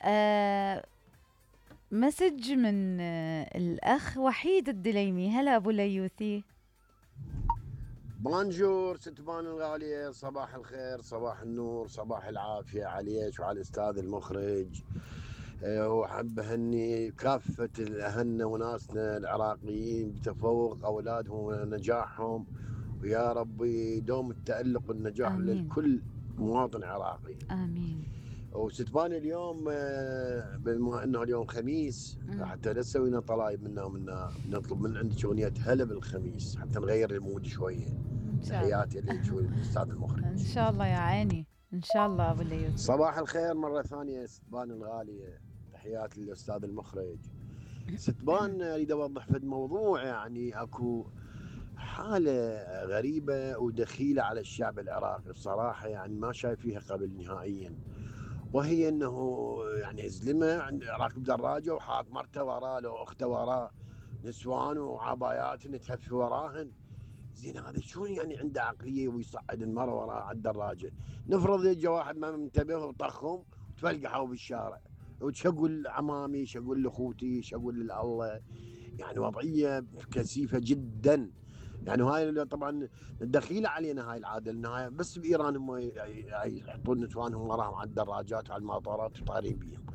آه مسج من الأخ وحيد الدليمي. هلا أبو ليوثي. بونجور ست بان الغالية، صباح الخير، صباح النور، صباح العافية عليك وعلى الأستاذ المخرج. وحب أهني كافة أهلنا وناسنا العراقيين بتفوق أولادهم ونجاحهم، ويا ربي دوم التألق والنجاح آمين. لكل مواطن عراقي. آمين. وستبان اليوم بما انه اليوم خميس، حتى لا تسوينا طلايب منا ومنا، نطلب من عندك اغنيه هلا بالخميس حتى نغير المود شويه. تحياتي لك والاستاذ المخرج. ان شاء الله يا عيني، ان شاء الله ابو ليوثي. صباح الخير مره ثانيه ستبان الغاليه، تحياتي للاستاذ المخرج. ستبان اريد اوضح في الموضوع، يعني اكو حاله غريبه ودخيله على الشعب العراقي الصراحه، يعني ما شايف فيها قبل نهائيا، وهي انه يعني زلمه راكب دراجه وحاط مرته وراه لو اخته وراه، نسوان وعبايات نتهف وراهن. زين هذا شلون يعني عنده عقليه ويصعد المراه وراه على الدراجه؟ نفرض يجي واحد ما منتبه وطخهم وتفلقحوا بالشارع، وش اقول عمامي، شو اقول لاخوتي، شو اقول لله؟ يعني وضعيه كثيفه جدا. يعني هاي طبعا دخيله علينا هاي العاده، لان بس بايران هم يحطون نسوانهم وراهم على الدراجات وعلى المطارات وطارين بيهم،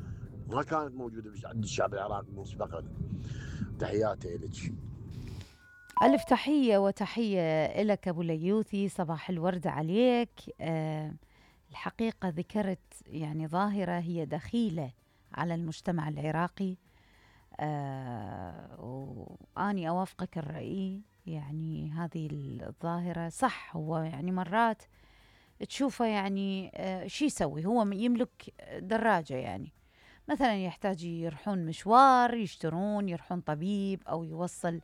ما كانت موجوده عند الشعب العراقي مسبقا. تحياتي لك. ألف تحية وتحية لك أبو ليوثي، صباح الورد عليك. الحقيقة ذكرت يعني ظاهرة هي دخيلة على المجتمع العراقي، وأني أوافقك الرأي. يعني هذه الظاهرة صح، هو يعني مرات تشوفه يعني شي يسوي، هو يملك دراجة، يعني مثلا يحتاج يروحون مشوار، يشترون، يروحون طبيب أو يوصل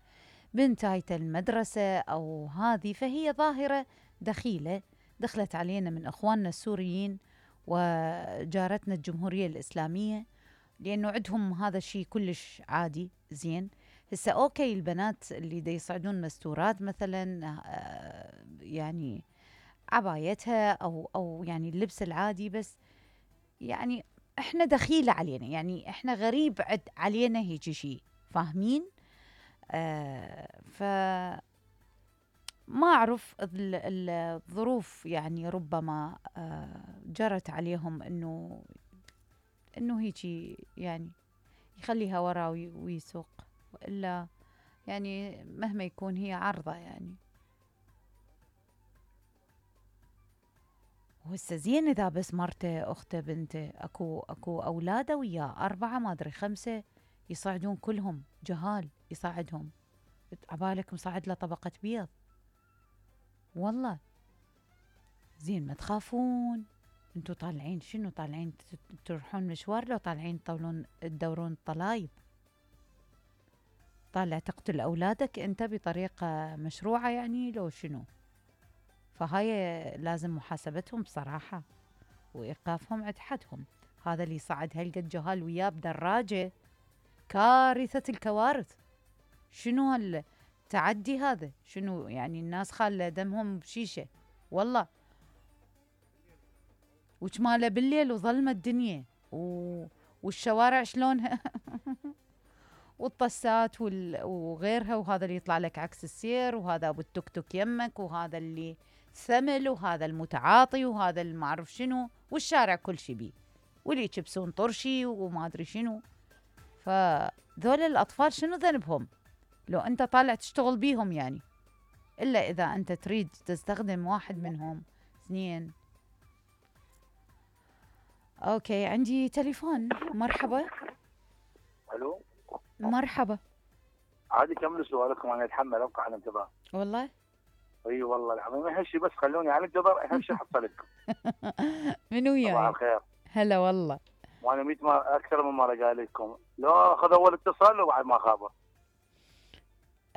بنتايته المدرسة أو هذه، فهي ظاهرة دخيلة دخلت علينا من أخواننا السوريين وجارتنا الجمهورية الإسلامية، لأنه عندهم هذا الشيء كلش عادي. زين هسه أوكي، البنات اللي دا يصعدون مستورات مثلا، يعني عبايتها أو يعني اللبس العادي، بس يعني إحنا دخيلة علينا، يعني إحنا غريب علينا هيجي شيء، فاهمين؟ ف ما أعرف الظروف، يعني ربما جرت عليهم إنه هيجي يعني يخليها ورا ويسوق، وإلا يعني مهما يكون هي عرضة يعني. وهسه زين إذا بس مرته أخته بنته، أكو أولاده وياه 4 ما أدري 5 يصعدون كلهم جهال يصعدهم، عبالك مصعد له طبقة بيض والله. زين ما تخافون انتو طالعين شنو؟ طالعين تروحون مشوار لو طالعين تدورون طلايب؟ طالع تقتل أولادك أنت بطريقة مشروعة يعني لو شنو؟ فهاي لازم محاسبتهم بصراحة وإيقافهم عند حدهم. هذا اللي صعد هالقد جهال وياه بدراجة كارثة الكوارث. شنو هالتعدي هذا؟ شنو يعني؟ الناس خالة دمهم بشيشة والله، وجماله بالليل وظلمة الدنيا والشوارع شلونها والطسات وغيرها، وهذا اللي يطلع لك عكس السير، وهذا ابو التوك توك يمك، وهذا اللي ثمل، وهذا المتعاطي، وهذا اللي ما اعرف شنو، والشارع كل شي بيه، واللي يكبسون طرشي وما ادري شنو. فذول الاطفال شنو ذنبهم لو انت طالع تشتغل بيهم يعني؟ الا اذا انت تريد تستخدم واحد منهم. اثنين. اوكي عندي تليفون. مرحبا. الو مرحبا. عادي كملوا سؤالكم، انا اتحمل ابقى على انتظار. والله اي والله العظيم اهم شيء بس خلوني على انتظار، اهم شيء حصلتكم. من وياي؟ صباح الخير. هلا والله. وانا 100 مرة اكثر من مره قايل لكم لو اخذ اول اتصال وبعد ما خابر.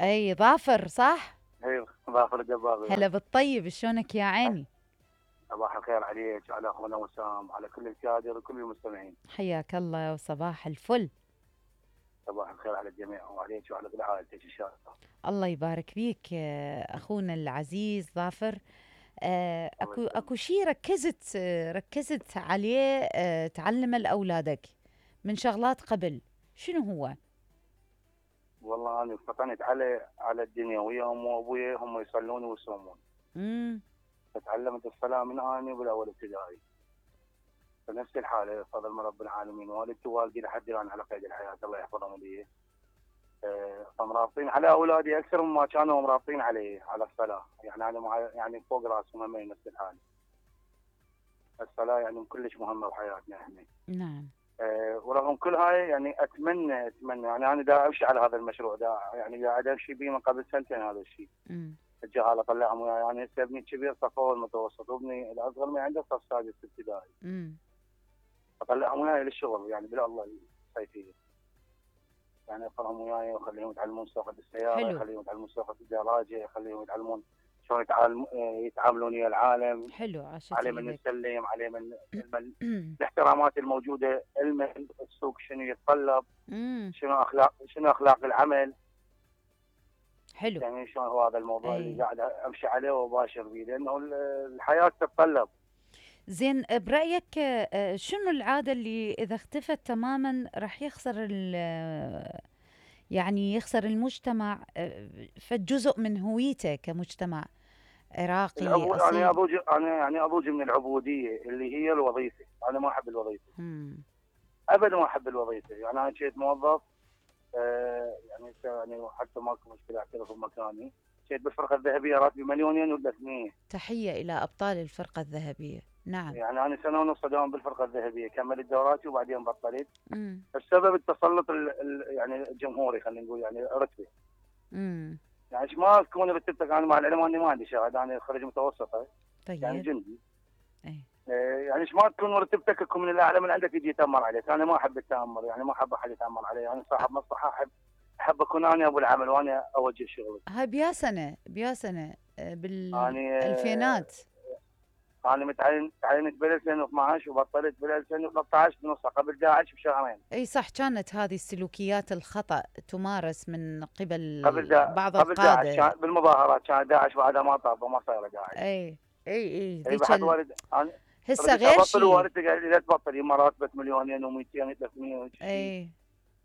اي ظافر صح؟ اي ظافر الدباغي. هلا بالطيب، شلونك يا عيني؟ صباح الخير عليك وعلى اخونا وسام وعلى كل الكادر وكل المستمعين. حياك الله وصباح الفل. صباح الخير على الجميع وعليك وعلى كل عائلتك ان شاء الله. الله يبارك فيك اخونا العزيز ظافر. اكو شيء ركزت عليه تعلمه لاولادك، من شغلات قبل، شنو هو؟ والله انا فطنت على الدنيا ويا امي وابوي، هم يصلون ويصومون. امم فتعلمت الصلاه من اني بالاول ابتدائي. فنفس الحاله بفضل من رب العالمين، والدتي ووالدي لحد الان على قيد الحياه الله يحفظهم لي. فمرابطين على اولادي اكثر مما كانوا مرابطين علي على الصلاه، يعني انا يعني فوق راسهم همين نفس الحاله. الصلاه يعني كلش مهمه بحياتنا احنا. نعم. ورغم كل هاي يعني اتمنى يعني انا دا امشي على هذا المشروع، دا يعني قاعد امشي به من قبل سنتين هذا الشيء. الجهاله طلعهم وياي، يعني هسه ابني الكبير صف اول متوسط، وابني الاصغر ما عنده صف سادس ابتدائي. اطلعهم وياي للشغل يعني بلا الله الصيفيه. يعني اخلهم وياي واخليهم يتعلمون سواقه السياره، اخليهم يتعلمون سواقه الدراجه، اخليهم يتعلمون شلون يتعاملون ويا العالم. حلو، عاشت عليه من ايدك. نسلم، عليه من الاحترامات الموجوده، علم السوق شنو يتطلب، شنو اخلاق العمل. حلو. يعني شلون هو هذا الموضوع اللي قاعد امشي عليه واباشر به، لانه الحياه تتطلب. زين، برايك شنو العاده اللي اذا اختفت تماما راح يخسر يعني يخسر المجتمع فجزء من هويته كمجتمع عراقي اصيل؟ انا اضوج من العبوديه اللي هي الوظيفه. انا ما احب الوظيفه ابدا، ما احب الوظيفه. يعني انا كنت موظف يعني حتى ماكو مشكله اعترف بمكاني. كنت بالفرقه الذهبيه راتبي 2,300,000. تحيه الى ابطال الفرقه الذهبيه. نعم. يعني انا سنه ونص داوم بالفرقه الذهبيه، كملت دوراتي وبعدين بطلت. السبب التسلط يعني الجمهوري، خلينا نقول يعني رتبه. يعني ما تكون رتبتك. انا مع العلم اني ما عندي شهاده، انا خريج متوسطه. طيب. يعني جندي. يعني ما تكون مرتبتك تكون من الاعلى من عندك يجي يتامر عليك. انا ما احب التامر، يعني ما احب احد يتامر علي. انا صاحب مصلحه، احب اكون انا ابو العمل وانا اوجه شغلي. هاي بيا سنه بالالفينات. انا تعينت بال 2012 وبطلت بال 2013 بنصها قبل داعش بشهرين. اي صح، كانت هذه السلوكيات الخطا تمارس من قبل بعض قبل القاده. داعش بالمظاهرات كان داعش بعدها ما طاب وما صاير داعش. اي بحد والد هسه غير شيء. والدتي قال لي لا تبطل، يما راتبك 2,200,000 300 اي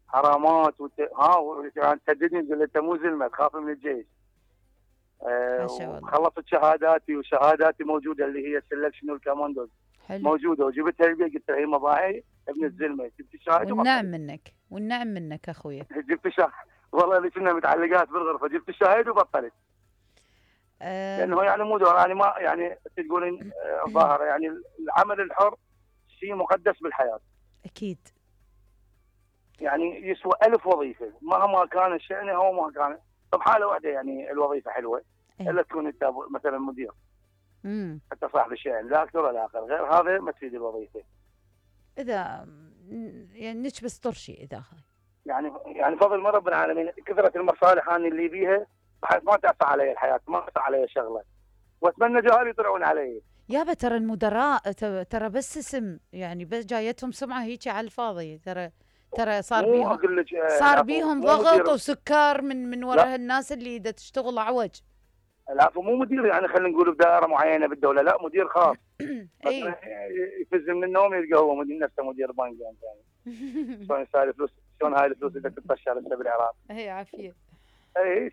حرامات تهددني تقول انت مو زلمه تخاف من الجيش. خلصت شهاداتي، وشهاداتي موجوده اللي هي السلكشن والكوماندوز موجوده، وجبتها البيت قلت لها يما باعي ابن الزلمه، جبت الشهاده. والنعم منك اخويا. جبت الشهاده والله اللي كنا متعلقات بالغرفه، جبت الشهاده وبطلت. لانه يعني مو دور، يعني ما يعني تقولين ظاهره، يعني العمل الحر شيء مقدس بالحياه. اكيد. يعني يسوى 1000 وظيفه مهما كان الشأن هو ما كان. طب حاله واحده يعني الوظيفه حلوه، الا تكون انت مثلا مدير. حتى صاحب الشأن، لا اكثر ولا اقل، غير هذا ما تفيد الوظيفه. اذا يعني نكبس طرشي اذا يعني فضل من رب العالمين، كثره المصالح انا اللي بيها بحيث ما تعصى علي الحياه، ما تعصى علي شغله، واتمنى جهال يطلعون علي. يابا ترى المدراء ترى بس اسم، يعني بس جايتهم سمعه هيك على الفاضي. ترى صار بيهم ضغط وسكر من وراء الناس اللي دا تشتغل عوج. لا مو مدير يعني خلينا نقول بدائره معينه بالدوله، لا مدير خاص. يفز من النوم يلقى هو مدير نفسه مدير بنك يعني. شلون يسال فلوس، شلون هاي الفلوس اذا تتطشر هسه بالعراق. هي عافيه.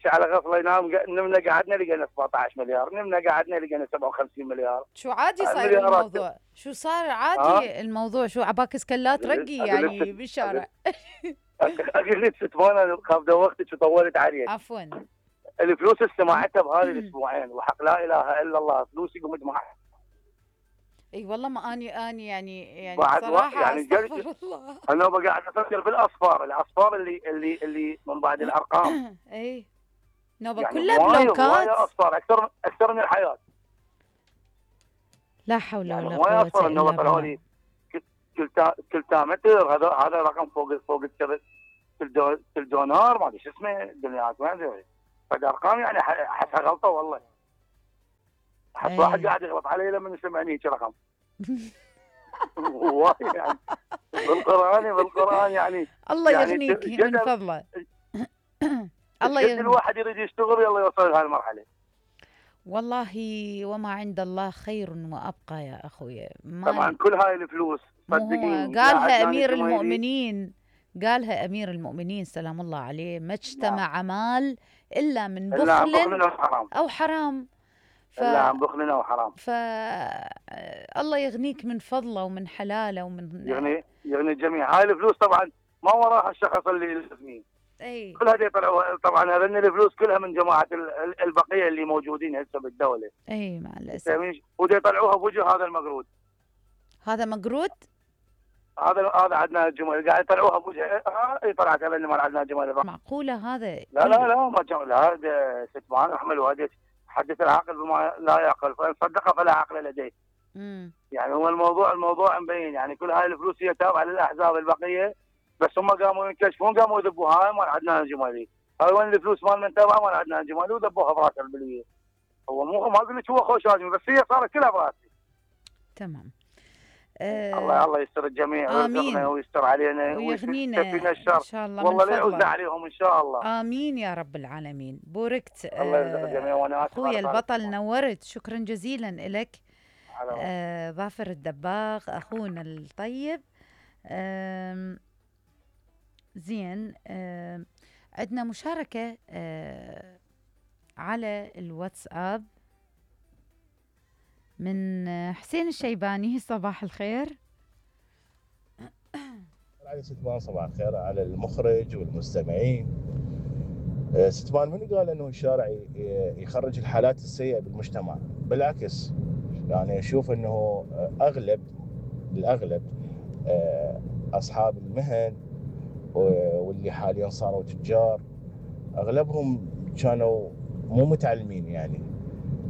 على غفله ينام. نمنا قعدنا لقينا 17 مليار، نمنا قعدنا لقينا 57 مليار. شو عادي صاير الموضوع؟ شو صار عادي الموضوع؟ شو عباك سكلات رقي يعني بالشارع؟ اقول لك ستوانا خاف دوختك وطولت عليك. عفوا. الفلوس استمعتها بهذه الاسبوعين، وحق لا اله الا الله فلوسي قمت معها. اي والله ما اني يعني صراحه يعني استغفر الله. انا قاعد افكر بالاصفار اللي من بعد الارقام. اي نوبه يعني كلها بلوكات. اصفار اكثر من الحياه. لا حول ولا قوه الا بالله. كل تامتر هذا رقم فوق الدونار، ما ادري شو اسمه الدنيات، ما ادري. فالارقام يعني احسها غلطه والله. احس واحد قاعد يغلط علي لما يسمعني هيك رقم. والله يعني بالقران يعني الله يغنيك من فضله. الله يغنيك. الواحد يريد يشتغل يلا يوصل لهالمرحله. والله وما عند الله خير وأبقى يا أخوي. طبعا كل هاي الفلوس صدقيني قالها أمير المؤمنين، قالها أمير المؤمنين سلام الله عليه: ما اجتمع مال إلا من بخل أو حرام. إلا عن بخل أو حرام. الله يغنيك من فضله ومن حلاله ومن يغني الجميع. هاي الفلوس طبعا ما وراها الشخص اللي يلزمين. اي كل هذه طلعوا طبعا، هذين الفلوس كلها من جماعه البقيه اللي موجودين هسه بالدوله. اي مع الاسف. ودي يطلعوها بوجه هذا المقرود. هذا مقرود؟ هذا عندنا الجمال قاعد يطلعوها بوجه. اي طلعت هذا اللي ما عندنا جمال. معقوله هذا؟ لا ما جمال. هذا ستمان احملوا هذه حدث العقل بما لا يعقل، فان صدق فلا عقل لديه. يعني هو الموضوع مبين. يعني كل هاي الفلوس هي تابعه للاحزاب البقيه، بس هم قاموا ينكشفون، قاموا يذبوها. هاي ما عندنا الجمالي. هاي وين الفلوس مال من تابعه؟ ما عندنا الجمالي، وذبوها براس البليه. هو مو ما اقول لك هو خوش ادمي، بس هي صارت كلها براسي. تمام. الله يستر الجميع ويرزقنا ويستر علينا ويغنينا ان شاء الله. والله لا يعوزنا عليهم ان شاء الله. امين يا رب العالمين. بوركت الله يرزق الجميع. وانا اخويا البطل، نورت. شكرا جزيلا لك. ظافر الدباغ اخونا الطيب. زين. عندنا مشاركة على الواتساب من حسين الشيباني. صباح الخير. علي ستمان صباح الخير على المخرج والمستمعين. ستمان من قال انه الشارع يخرج الحالات السيئة بالمجتمع؟ بالعكس، يعني اشوف انه الاغلب اصحاب المهن واللي حاليا صاروا تجار اغلبهم كانوا مو متعلمين، يعني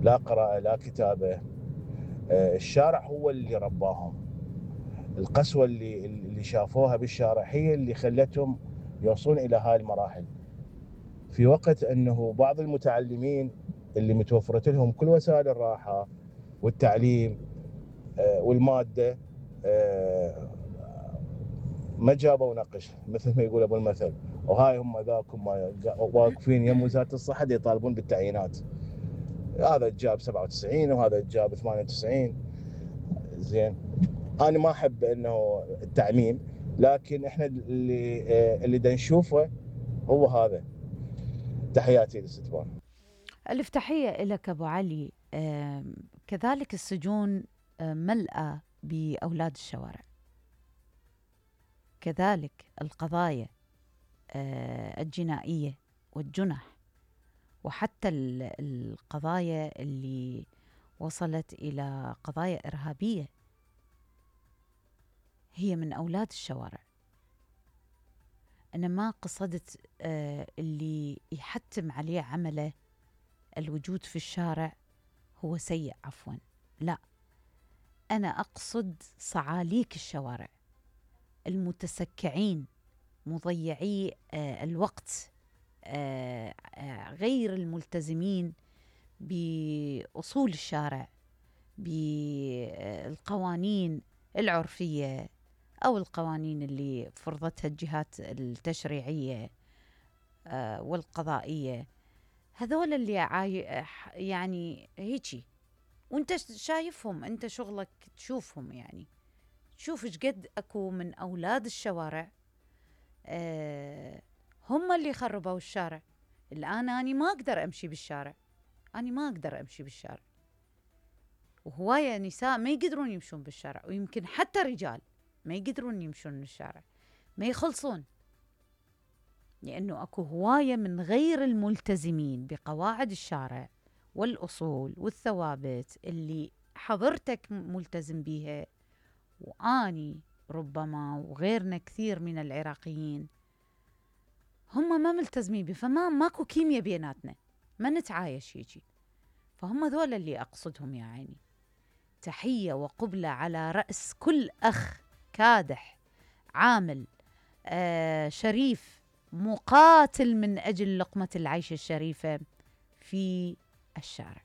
لا قراءة لا كتابة. الشارع هو اللي رباهم. القسوة اللي شافوها بالشارع هي اللي خلتهم يوصلون الى هاي المراحل، في وقت انه بعض المتعلمين اللي متوفرت لهم كل وسائل الراحة والتعليم والمادة ما جابوا نقش مثل ما يقول ابو المثل. وهاي هم ذاكم واقفين يم وزارة الصحة يطالبون بالتعيينات. هذا جاب 97 وهذا جاب 98. زين، انا ما احب انه التعميم، لكن احنا اللي دا نشوفه هو هذا. تحياتي للستبان. الف تحية لك ابو علي. كذلك السجون ملأة بأولاد الشوارع، كذلك القضايا الجنائية والجنح، وحتى القضايا اللي وصلت إلى قضايا إرهابية هي من أولاد الشوارع. أنا ما قصدت اللي يحتم عليه عمله الوجود في الشارع هو سيء، عفوا، لا، أنا أقصد صعاليك الشوارع، المتسكعين، مضيعي الوقت، غير الملتزمين بأصول الشارع، بالقوانين العرفية أو القوانين اللي فرضتها الجهات التشريعية والقضائية. هذول اللي يعني هيجي، وانت شايفهم، انت شغلك تشوفهم، يعني شوف ايش قد اكو من اولاد الشوارع هم اللي خربوا الشارع. الان اني ما اقدر امشي بالشارع، وهواية نساء ما يقدرون يمشون بالشارع، ويمكن حتى رجال ما يقدرون يمشون بالشارع، ما يخلصون، لأنه أكو هواية من غير الملتزمين بقواعد الشارع والأصول والثوابت اللي حضرتك ملتزم بيها، وآني ربما وغيرنا كثير من العراقيين هم ما ملتزمين بيه، ماكو كيمياء بيناتنا، ما نتعايش هيجي. فهم ذول اللي أقصدهم يا عيني. تحية وقبلة على رأس كل أخ كادح، عامل، شريف، مقاتل من أجل لقمة العيش الشريفة في الشارع.